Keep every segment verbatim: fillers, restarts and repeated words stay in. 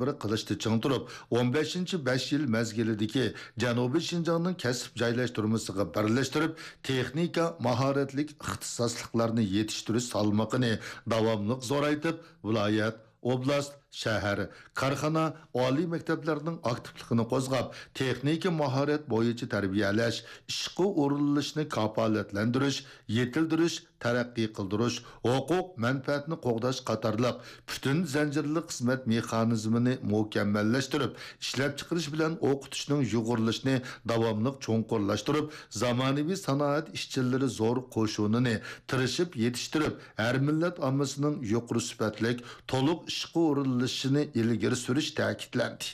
بىر قىلىشتا چىڭ تۇرۇپ، ئون بەشىنچى بەش يىل مەزگىلىدىكى جەنۇبىي شىنجاڭنىڭ كەسىپ جايلاشتۇرمىسىغا بىرلەشتۈرۈپ، تېخنىكا ماھارەتلىك ئىختىساسلىقلارنى يېتىشتۈرۈش سالمىقىنى داۋاملىق زورايتىپ، ۋىلايەت، ئوبلاست، شەھەر، كارخانا، ئالىي مەكتەپلەرنىڭ ئاكتىپلىقىنى قوزغاپ، تېخنىكا ماھارەت بويىچە تەربىيەلەش، ئىشقا ئورۇنلىشىشنى كاپالەتلەندۈرۈش، يېتىلدۈرۈش، تەرەققىي قىلدۇرۇش، ھوقۇق مەنپەئەتنى قوغداش قاتارلىق پۈتۈن زەنجىرلىق خىزمەت مېخانىزمىنى مۇكەممەللەشتۈرۈپ، ئىشلەپچىقىرىش بىلەن ئوقۇتۇشنىڭ يۇغۇرۇلۇشىنى داۋاملىق چوڭقۇرلاشتۇرۇپ، زامانىۋى سانائەت ئىشچىلىرى زور قوشۇنىنى تىرىشىپ يېتىشتۈرۈپ، ھەر مىللەت ئاممىسىنىڭ يۇقىرى سۈپەتلىك، تولۇق ئىشقا ئورۇنلىشىشىنى ئىلگىرى سۈرۈش تەكىتلەندى.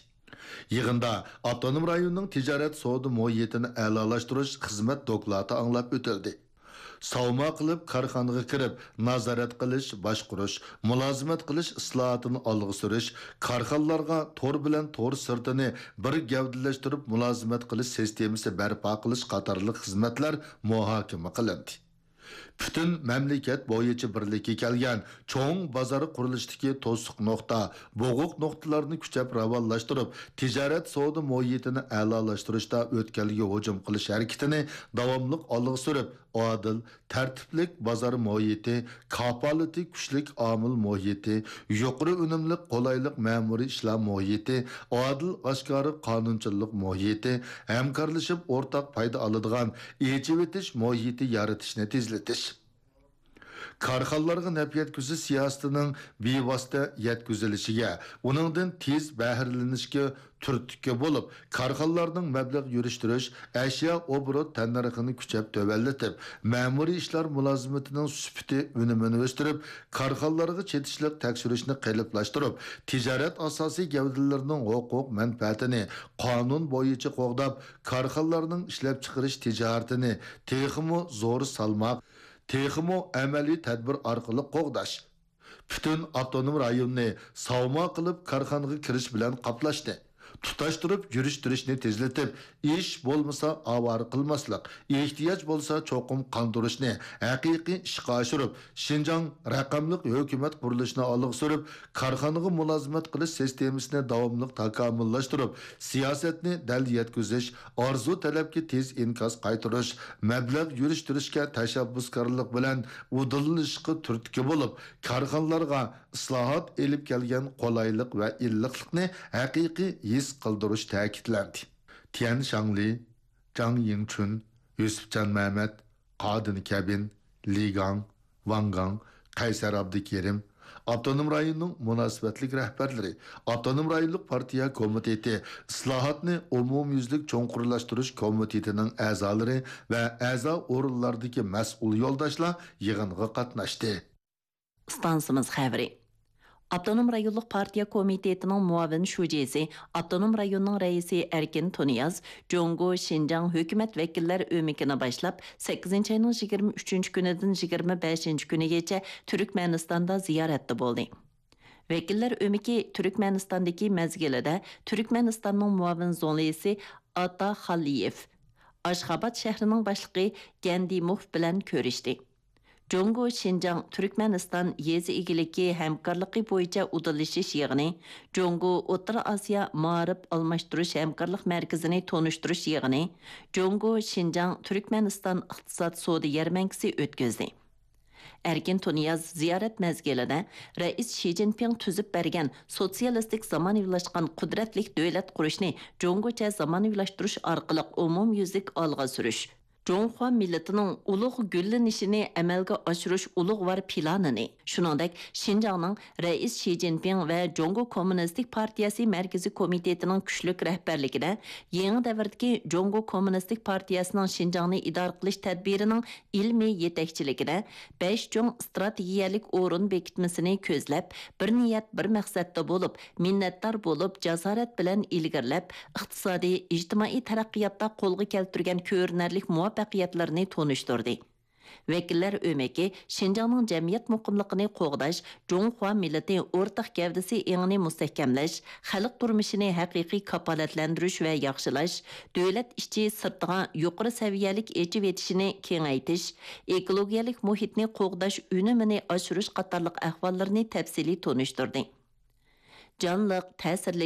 يىغىندا ئاپتونوم رايوننىڭ تىجارەت سودا مۇھىتىنى ئەلالاشتۇرۇش خىزمەت دوكلاتى ئاڭلاپ ئۆتۈلدى. ساۋما قىلىپ كارخانىغا كىرىپ، نازارەت قىلىش، باشقۇرۇش، مۇلازىمەت قىلىش ئىسلاھاتىنى ئالغا سۈرۈش، كارخانىلارغا تور بىلەن تور سىرتىنى بىر گەۋدىلەشتۈرۈپ مۇلازىمەت قىلىش سىستېمىسى بەرپا قىلىش قاتارلىق خىزمەتلەر مۇھاكىمە قىلىندى. پۈتۈن مەملىكەت بويىچە بىرلىككە كەلگەن چوڭ بازار قۇرۇلۇشىدىكى توسۇق نۇقتا، بوغۇق نۇقتىلارنى كۈچەپ راۋانلاشتۇرۇپ، تىجارەت سودا مۇھىتىنى ئەلالاشتۇرۇشتا ئۆتكەلگە ھۇجۇم قىلىش ھەرىكىتىنى داۋاملىق ئالغا سۈرۈپ، ئادىل، تەرتىپلىك بازار مۇھىتى، كاپالىتى كۈچلۈك ئامىل مۇھىتى، يۇقىرى ئۈنۈملۈك، قولايلىق مەمۇرىي ئىشلار مۇھىتى، ئادىل، ئاشكارا قانۇنچىللىق مۇھىتى، ھەمكارلىشىپ ئورتاق پايدا ئالىدىغان ئېچىۋېتىش مۇھىتى يارىتىشنى تېزلىتىش. كارخانىلارغا نەپ يەتكۈزۈش سىياسىتىنىڭ بىۋاسىتە يەتكۈزۈلۈشىگە، ئۇنىڭدىن تېز بەھرىلىنىشكە تۈرتكە بولۇپ، كارخانىلارنىڭ مەبلەغ يۈرۈشتۈرۈش، ئەشيا ئوبوروت تەننەرخىنى كۈچەپ تۆۋەنلىتىپ، مەمۇرىي ئىشلار مۇلازىمىتىنىڭ سۈپىتى، ئۈنۈمىنى ئۆستۈرۈپ، كارخانىلارغا چېتىشلىق تەكشۈرۈشنى قېلىپلاشتۇرۇپ، تىجارەت ئاساسىي گەۋدىلىرىنىڭ ھوقۇق مەنپەئەتىنى قانۇن بويىچە قوغداپ، كارخانىلارنىڭ ئىشلەپچىقىرىش تىجارىتىنى تېخىمۇ زور سالماق، تېخىمۇ ئەمەلىي تەدبىر ئارقىلىق قوغداش. پۈتۈن ئاپتونوم رايوننى ساۋما قىلىپ كارخانىغا كىرىش بىلەن قاپلاشنى، تۇتاشتۇرۇپ يۈرۈشتۈرۈشنى تېزلىتىپ، ئىش بولمىسا ئاۋارە قىلماسلىق، ئېھتىياج بولسا چوقۇم قاندۇرۇشنى ھەقىقىي ئىشقا ئاشۇرۇپ، شىنجاڭ رەقەملىك ھۆكۈمەت قۇرۇلۇشىنى ئالغا سۈرۈپ، كارخانىغا مۇلازىمەت قىلىش سىستېمىسىنى داۋاملىق تاكامۇللاشتۇرۇپ، سىياسەتنى دەل يەتكۈزۈش، ئارزۇ تەلەپكە تېز ئىنكاس قايتۇرۇش، مەبلەغ يۈرۈشتۈرۈشكە تەشەببۇسكارلىق بىلەن ئۇدۇللىنىشقا تۈرتكە بولۇپ، كارخانىلارغا ئىسلاھات ئېلىپ كەلگەن قولايلىق ۋە ئىللىقلىقنى ھەقىقىي ھېس قىلدۇرۇش تەكىتلەندى. تيەن شاڭلى، جاڭ يىڭچۈن، يۈسۈپجان مەمەت، قادىن كەبىن، لى گاڭ، ۋاڭ گاڭ، قەيسەر ئابدۇكېرىم، ئاپتونوم رايوننىڭ مۇناسىۋەتلىك رەھبەرلىرى، ئاپتونوم رايونلۇق پارتىيە كومىتېتى، ئىسلاھاتنى ئومۇميۈزلۈك چوڭقۇرلاشتۇرۇش كومىتېتىنىڭ ئەزالىرى ۋە ئەزا ئورۇنلاردىكى مەسئۇل يولداشلار يىغىنغا قاتناشتى. ئىستانسىمىز خەۋىرى. ئاپتونوم رايونلۇق پارتىيە كومىتېتىنىڭ مۇئاۋىن شۇجىسى، ئاپتونوم رايوننىڭ رەئىسى ئەركىن تۇنىياز جۇڭگو شىنجاڭ ھۆكۈمەت ۋەكىللەر ئۆمىكىنى باشلاپ، سەككىزىنچى ئاينىڭ يىگىرمە ئۈچىنچى كۈنىدىن يىگىرمە بەشىنچى كۈنىگىچە تۈركمەنىستاندا زىيارەتتە بولدى. ۋەكىللەر ئۆمىكى تۈركمەنىستاندىكى مەزگىلىدە تۈركمەنىستاننىڭ مۇئاۋىن زۇڭلىسى ئاتا خالىيېف، ئاشخاباد شەھىرىنىڭ باشلىقى گەندىموف بىلەن كۆرۈشتى. جۇڭگو شىنجاڭ تۈركمەنىستان يېزا ئىگىلىكى ھەمكارلىقى بويىچە ئۇدۇللىشىش يىغىنى، جۇڭگو ئوتتۇرا ئاسىيا مائارىپ ئالماشتۇرۇش ھەمكارلىق مەركىزىنى تونۇشتۇرۇش يىغىنى، جۇڭگو شىنجاڭ تۈركمەنىستان ئىقتىساد سودا يەرمەنكىسى ئۆتكۈزدى. ئەركىن تۇنىياز زىيارەت مەزگىلىدە رەئىس شى جىنپىڭ تۈزۈپ بەرگەن سوتسىيالىستىك زامانىۋىلاشقان قۇدرەتلىك دۆلەت قۇرۇشنى جۇڭگوچە زامانىۋىلاشتۇرۇش ئارقىلىق ئومۇميۈزلۈك ئالغا سۈرۈش، جۇڭخۇا مىللىتىنىڭ ئۇلۇغ گۈللىنىشىنى ئەمەلگە ئاشۇرۇش ئۇلۇغۋار پىلانىنى، شۇنىڭدەك شىنجاڭنىڭ رەئىس شى جىنپىڭ ۋە جۇڭگو كوممۇنىستىك پارتىيەسى مەركىزىي كومىتېتىنىڭ كۈچلۈك رەھبەرلىكىدە يېڭى دەۋردىكى جۇڭگو كوممۇنىستىك پارتىيەسىنىڭ شىنجاڭنى ئىدارە قىلىش تەدبىرىنىڭ ئىلمىي يېتەكچىلىكىدە بەش چوڭ ئىستراتېگىيەلىك ئورۇن بېكىتمىسىنى كۆزلەپ، بىر نىيەت، بىر مەقسەتتە بولۇپ، مىننەتدار بولۇپ، جاسارەت بىلەن ئىلگىرىلەپ، ئىقتىسادىي، ئىجتىمائىي تەرەققىياتتا قولغا كەلتۈرگەن كۆرۈنەرلىك مۇۋەپپەقىيەتلىرىنى تونۇشتۇردى. ۋەكىللەر ئۆمىكى شىنجاڭنىڭ جەمئىيەت مۇقىملىقىنى قوغداش، جۇڭخۇا مىللىتى ئورتاق گەۋدىسى ئېڭىنى مۇستەھكەملەش، خەلق تۇرمۇشىنى ھەقىقىي كاپالەتلەندۈرۈش ۋە ياخشىلاش، دۆلەت ئىچى سىرتىغا يۇقىرى سەۋىيەلىك ئېچىۋېتىشىنى كېڭەيتىش، ئېكولوگىيەلىك مۇھىتنى قوغداش ئۈنۈمىنى ئاشۇرۇش قاتارلىق ئەھۋاللىرىنى تەپسىلىي تونۇشتۇردى. جانلىق، تەسىرلىك.